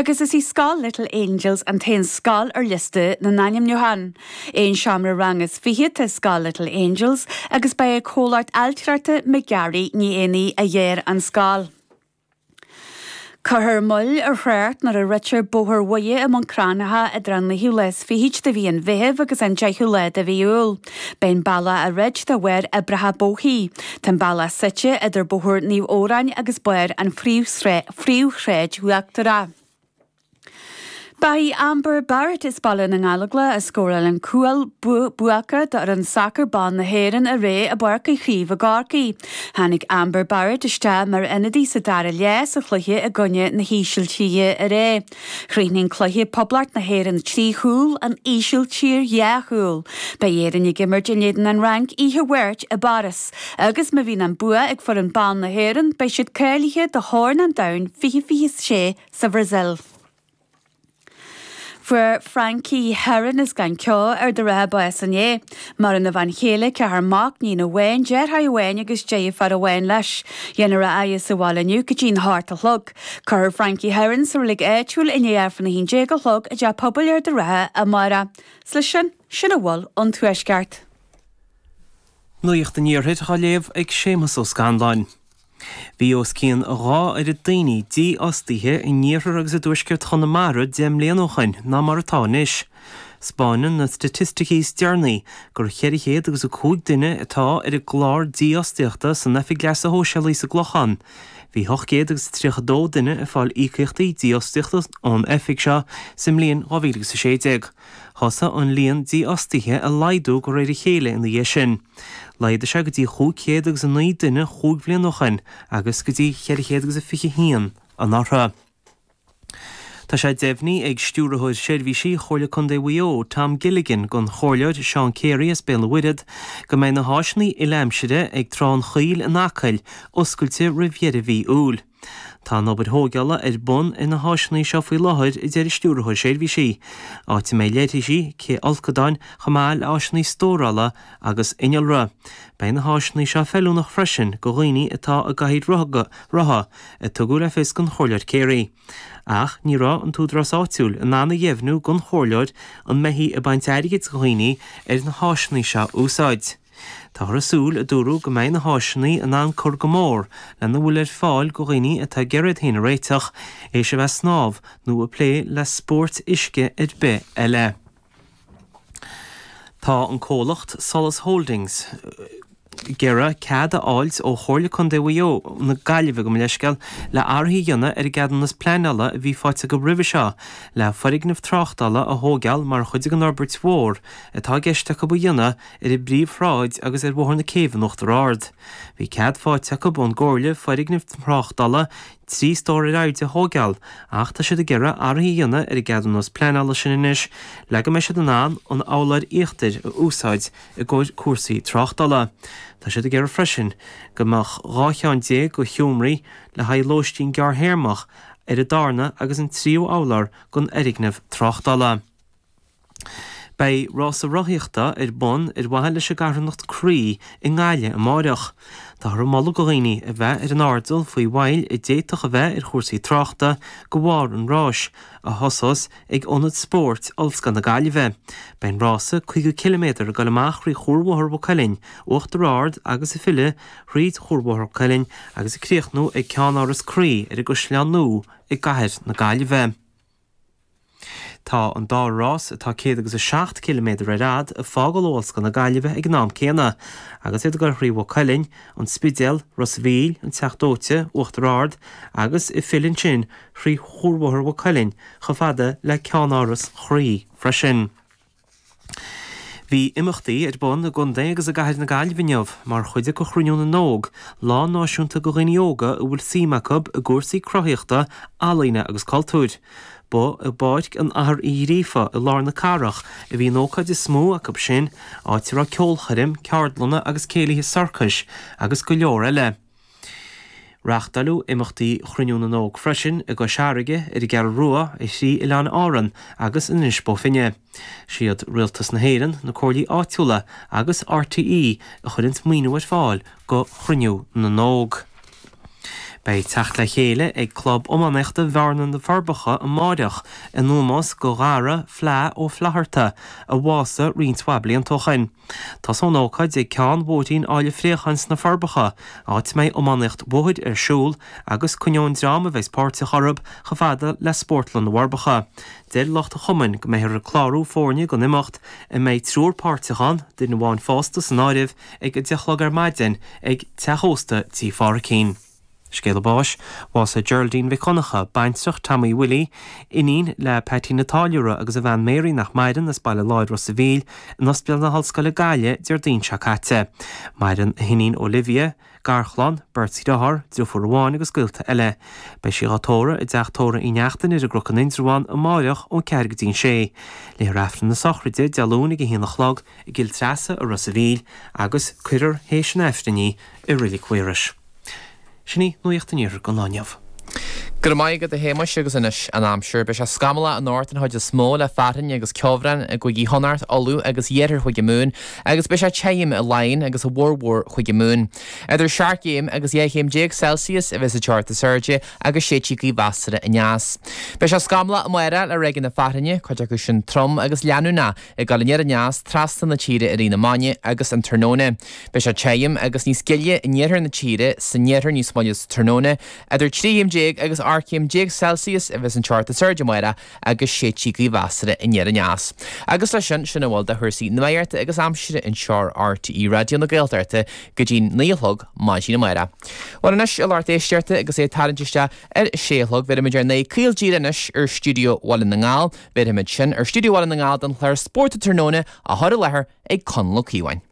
Agus is í Scoil Little Angels an t-aon scoil ar liosta na n-ainmniúchán. Aon seomra ranga is fichead atá i Scoil Little Angels agus ba é comhlacht ailtireachta McGarry Ní Éanaigh a dhear an scoil. Cuirfear moill ar thrácht nuair a shroichtear Bóthar Mhuighe i mBun Cranncha idir an naoú lá is fichid de mhí an Mheithimh agus an deichiú lá de mhí Iúil. Beidh an bealach á dhruid de bharr oibreacha bóthair. Tá an bealach suite idir Bóthar Naomh Odhráin agus barr an Phríomhshráid Uachtarach. Ba í Amber Barrett as Baile na nGallóglach a scóráil an cúl buacach d'fhoireann sacair ban na hÉireann aréir i bPáirc Uí Chaoimh i gCorcaigh. Tháinig Amber Barrett isteach mar ionadaí sa dara leath sa chluiche i gcoinne na hÍsiltíre aréir. Chríochnaigh an cluiche Poblacht na hÉireann 3 chúl, an Ísiltír 2 chúl. Beidh Éirinn ag imirt in éadan an Fhrainc oíche Mháirt i bPáras. Agus má bhíonn an bua ag foireann ban na hÉireann beidh siad cáilithe do Chorn an Domhain 2026 sa Bhrasaíl. Fuair Frankie Herron as Gleann Ceo, Ard an Rátha bás inné. Maireann a bhean chéile, ceathrar mac, níon amháin, deartháir amháin agus deirfiúr amháin leis. Dhéanfar a fhaire sa bhaile inniu go dtí'n hocht a chlog. Cuirfear Frankie Herron sa reilig áitiúil i ndiaidh Aifreann 11 a chlog i dTeach Pobail Ard an Rátha amárach. 'S leis sin, sin a bhfuil ón Tuaisceart. Nuacht an Iarthair á léamh ag Séamus Ó Scanláin. Bhí os cionn a dhá oiread daoine dífhostaithe in iarthar agus i dtuaisceart Chonamara 10 mbliana ó shoin ná mar atá anois. 'Spáineann na staitisticí is deireanaí gur 400 agus 5 duine atá ar an gclár dífhostaíochta san Oifig Leasa Shóisialaigh sa gClochán. Bhí 800 agus 32 duine ag fáil íocaíochtaí dífhostaíochta ón oifig seo sa mbliain 2016. Thosaigh an líon dífhostaithe ag laghdú de réir a chéile ina dhiaidh sin. Laghdaigh sé go dtí 509 duine chúig bhliana ó shoin agus go dtí 421 anuraidh. Tá sé deimhnithe ag Stiúrthóir Seirbhísí Chomhairle Contae Mhaigh Eo, Tom Gilligan, don Chomhairleoir Seán Carey as Béal an Mhuirthead go mbeidh na háiseanna uile-aimsire ag Trá an Choill in Acaill oscailte roimh dheireadh mhí Iúil. Tá an obair thóigeála ar bun ar na háiseanna seo faoi láthair, a deir an Stiúrthóir Seirbhísí, áit a mbeidh leithrisí, cithfholcadáin, chomh maith le áiseanna stórála agus innealra. Beidh na háiseanna seo feiliúnach freisin do dhaoine atá i gcathaoir rotha, a tugadh le fios don Chomhairleoir Carey. Ach ní raibh an t-údarás áitiúil in ann a dheimhniú don Chomhairleoir an mbeifí ag baint airgid de dhaoine ar na háiseanna seo a úsáid. Táthar ag súil, a dúradh, go mbeidh na háiseanna in ann cur go mór lena bhfuil ar fáil do dhaoine atá ag iarraidh iad féin a réiteach, théis a bheith ag snámh nó ag plé le spóirt uisce ar bith eile. Tá an comhlacht Solas Holdings ag iarraidh cead a fháilt ó Chomhairle Contae Mhaigh Eo, na Gaillimhe, gabh mo leithscéal, le athruithe a dhéanamh ar an gceadúnas pleanála a bhí faighte acu roimhe seo le foirgneamh tráchtála a thóigeáil mar chuid den fhorbairt mhór atá i gceist acu a dhéanamh ar an bPríomhshráid agus ar Bhóthar na Céibhe in Uachtar Ard. Bhí cead faighte acu ón gComhairle foirgneamh tráchtála 3 stór ar airde a thóigeáil ach tá siad ag iarraidh athruithe a dhéanamh ar an gceadúnas pleanála sin anois le go mbeidh siad in ann an urlár íochtair a úsáid i gcomhair cúrsaí tráchtála. Tá siad ag iarraidh freisin go mbeadh 12 cheann de sheomraí le haghaidh lóistín gearrthéarmach ar an darna agus an tríú urlár den fhoirgneamh tráchtála. Beidh rása rothaíochta ar bun ar mhaithe leis an gcarthanacht Croí i nGaillimh amáireach. Táthar ag moladh do dhaoine a bheith ar an airdeall faoi mhoill a d'fhéadfadh a bheith ar chúrsaí tráchta de bharr an ráis, a thosós ag Ionad Spóirt Ollscoil na Gaillimhe. Beidh an rása 50 ciliméadar ag dul amach thrí Chuarbhóthar Mhaigh Cuilinn, Uachtar Ard agus ag filleadh thríd Chuarbhóthar Mhaigh Cuilinn agus ag críochnú ag Ceannáras Croí ar an gCaisleán Nua i gcathair na Gaillimhe. Tá an dá rás, atá 100 agus 7 ciliméadar ar fhad, ag fágáil ó Ollscoil na Gaillimhe ag an am céanna, agus iad ag dul thrí Mhaigh Cuilinn, An Spidéal, Ros a' Mhíl, An Teach Dóite, Uachtar Ard, agus ag filleadh ansin thrí Chuarbhóthar Mhaigh Cuilinn chomh fada le Ceannáras Chroí freisin. Bhí imeachtaí ar bun i gcontae agus i gcathair na Gaillimhe inniu mar chuid de Chruinniú na nÓg, lá náisiúnta do dhaoine óga a bhfuil suim acu i gcúrsaí cruthaitheachta, ealaíne agus cultúir. Ba i bPáirc an Athar Uí Ghríofa i lár na cathrach a bhí an ócáid is mó acu sin, áit a raibh ceolchoirm, ceardlanna agus céilithe sorcais agus go leor eile. Reáchtáileadh imeachtaí Chruinniú na nÓg freisin i gCois Fharraige, ar an gCeathrú Rua, ar thrí Oileáin Árann agus in Inis Bó Finne. Siad Rialtas na hÉireann, na Comhairlí áitiúla agus RTÉ a chuireann maoiniú ar fáil go Chruinniú na nÓg. Beidh teacht le chéile ag Club Iománaíochta Bhearna na Forbacha amáireach in ómós go Dhara Fla Ó Flatharta a bhásaigh roinnt mhaith blianta ó shoin. Tosóidh an ócáid ag ceann Bhóithrín Áille Phréacháin sna Forbacha, áit a mbeidh iománaíocht bhóthair ar siúl agus coinneoidh an dream a bheas páirteach orthu chomh fada le Spórtlann na bhForbacha. Deir lucht an chumainn go mbeifear ag clárú foirne don imeacht, a mbeidh triúr páirteach ann, duine amháin fásta san áireamh, ag 10 a chlog ar maidin ag Teach Ósta Tí Pháricín. Scéala báis, Bhásaigh Geraldine Mhic Dhonncha, baintreach Tommy Willie, iníon le Peaití an Táilliúra agus a bhean Mary nach maireann, as Baile Láir, Ros a' Mhíl, in Ospidéal na hOllscoile Gaillimh, Déardaoin seo caite. Maireann a hiníon Olivia, garchlann, beirt dhriotháir, driofúr amháin agus gaolta eile. Beidh sí dhá tórramh i dteach tórraimh Uí Neachtain ar an gCnoc in Indreabhán amáireach ón 4 go dtí an 6. Léifear Aifreann na sochraide Dé Luain ag 1 a chlog i gCill Treasa i Ros a' Mhíl agus cuirfear théis an Aifrinn í i Reilig Mhaorais. Sin í Nuacht an Iarthair don lá inniu. Go raibh maith agat a Shéamais agus anois an aimsir. Beidh sé scamallach anocht den chuid is mó le fearthainn agus ceobhrán i gCúigí Chonnacht, Uladh agus iarthar Chúige Mumhan agus beidh sé tirim i Laighin agus i bhformhór Chúige Mumhan. Idir 7 gcéim agus 12 chéim Celsius a bheas an teocht is airde agus séidfidh gaoth mheasartha aneas. Beidh sé scamallach amárach le ráigeanna fearthainne, cuid acu sin trom agus leanúnach, ag dul aniar aneas trasna na tíre i rith na maidine agus an tráthnóna. Beidh sé tirim agus níos gile in iarthar na tíre, san iarthar níos moille sa tráthnóna. Idir 13 chéim agus 18 chéim Celsius a bheas an teocht is airde amárach agus séidfidh gaoth mheasartha aniar aneas. Agus leis sin, sin a bhfuil de chúrsaí nuachta agus aimsire anseo ar RTÉ Raidió na Gaeltachta go dtí 9 a chlog maidin amárach. Bhuel anois, a lucht éisteachta, agus é ag tarraingt isteach ar sé a chlog, bhéarfaimid ár n-aghaidh caol díreach anois ar stiúideo Bhaile na nGall. Bhéarfaimid sin ar stiúideo Bhaile na nGall don chlár Spórt an Tráthnóna á chur i láthair ag Conall Ó Cíobháin.